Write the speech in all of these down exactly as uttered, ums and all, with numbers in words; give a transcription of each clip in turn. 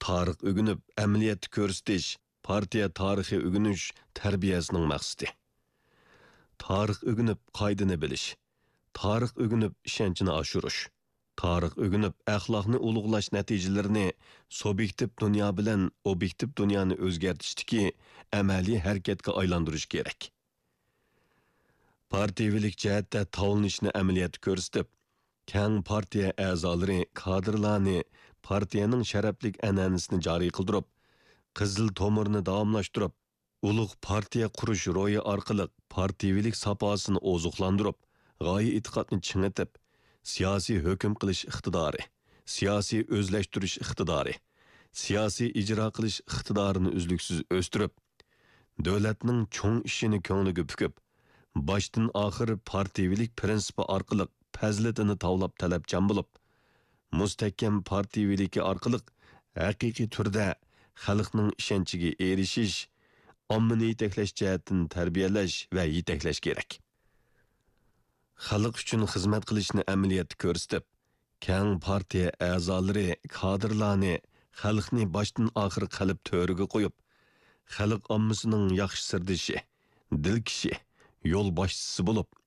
تارىخ ئۆگىنىپ، ئەمەلىيەتتە كۆرسىتىش، پارتىيە تارىخى ئۆگىنىش تەربىيەسىنىڭ مەقسىتى. تارىخ ئۆگىنىپ، قائىدىنى بىلىش. تارىخ ئۆگىنىپ، ئىشەنچنى ئاشۇرۇش. تارىخ ئۆگىنىپ، ئەخلاقنى ئۇلۇغلاش نەتىجىلىرىنى سۇبيېكتىپ دۇنيا بىلەن ئوبيېكتىپ دۇنيانى ئۆزگەرتىشتىكى ئەمەلىي ھەرىكەتكە ئايلاندۇرۇش كېرەك. پارتىيىۋىلىك جەھەتتە تاۋلىنىشنى ئەمەلىيەتتە كۆرسىتىپ، كەڭ پارتىيە ئەزالىرى، كادىرلارنى پارتىيەنىڭ شەرەپلىك ئەنئەنىسىنى جارى قىلدۇرۇپ، قىزىل تومۇرنى داۋاملاشتۇرۇپ، ئۇلۇغ پارتىيە قۇرۇش روھى ئارقىلىق پارتىيىۋىلىك ساپاسىنى ئوزۇقلاندۇرۇپ، غايە ئېتىقادنى چىڭىتىپ، سىياسىي ھۆكۈم قىلىش ئىقتىدارى، سىياسىي ئۆزلەشتۈرۈش ئىقتىدارى، سىياسىي ئىجرا قىلىش ئىقتىدارىنى ئۈزلۈكسىز ئۆستۈرۈپ، دۆلەتنىڭ چوڭ ئىشىنى كۆڭلىگە پۈكۈپ، باشتىن ئاخىر پارتىيىۋىلىك پىرىنسىپى ئارقىلىق پەزىلىتىنى تاۋلاپ تەلەپچان بولۇپ، مۇستەھكەم پارتىيىۋىلىكى ئارقىلىق ھەقىقىي تۈردە خەلقنىڭ ئىشەنچىگە ئېرىشىش، ئاممىنى يېتەكلەش جەھەتتىن تەربىيەلەش ۋە يېتەكلەش كېرەك. خەلق ئۈچۈن خىزمەت قىلىشنى ئەمەلىيەتتە كۆرسىتىپ، كەڭ پارتىيە ئەزالىرى، كادىرلارنى خەلقنى باشتىن ئاخىر قەلب تۆرىگە قويۇپ، خەلق ئاممىسىنىڭ ياخشى سىردىشى، دىلكىشى، يولباشچىسى بولۇپ،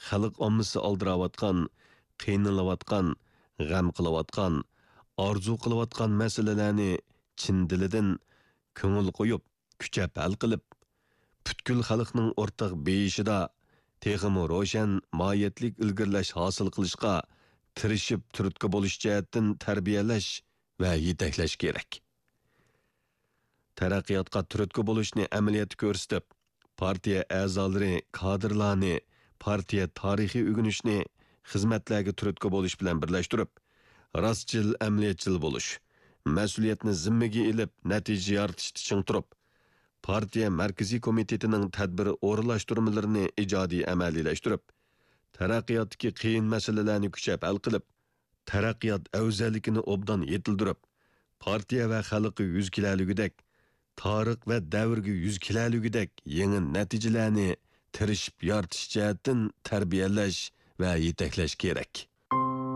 خەلق ئاممىسى ئالدىراۋاتقان، قىينىلىۋاتقان، غەم قىلىۋاتقان، ئارزۇ قىلىۋاتقان مەسىلىلەرنى چىن دىلىدىن، كۆڭۈل قويۇپ، كۈچەپ ھەل قىلىپ، پۈتكۈل خەلقنىڭ ئورتاق بېيىشىدا تېخىمۇ روشەن ماھىيەتلىك ئىلگىرىلەش ھاسىل قىلىشقا تىرىشىپ تۈرتكە بولۇش جەھەتتىن تەربىيەلەش ۋە يېتەكلەش كېرەك. تەرەققىياتقا تۈرتكە بولۇشنى ئەمەلىيەتتە كۆرسىتىپ، پارتىيە ئەزالىرى، كادىرلارنى پارتىيە تارىخى ئۆگىنىشنى خىزمەتلەرگە تۈرتكە بولۇش بىلەن بىرلەشتۈرۈپ، راستچىل، ئەمەلىيەتچىل بولۇش، مەسئۇلىيەتنى زىممىگە ئېلىپ، نەتىجە يارىتىشتا چىڭ تۇرۇپ، پارتىيە مەركىزىي كومىتېتىنىڭ تەدبىر ئورۇنلاشتۇرمىلىرىنى ئىجادىي ئەمەلىيلەشتۈرۈپ، تەرەققىياتتىكى قىيىن مەسىلىلەرنى كۈچەپ ھەل قىلىپ، تەرەققىيات ئەۋزەللىكىنى ئوبدان يېتىلدۈرۈپ، پارتىيە ۋە خەلققە يۈز كېلەلىگۈدەك، تارىخ ۋە دەۋرگە يۈز كېلەلىگۈدەك يېڭى نەتىجىلەرنى تىرىشىپ يارىتىش جەھەتتىن تەربىيەلەش ۋە يېتەكلەش كېرەك.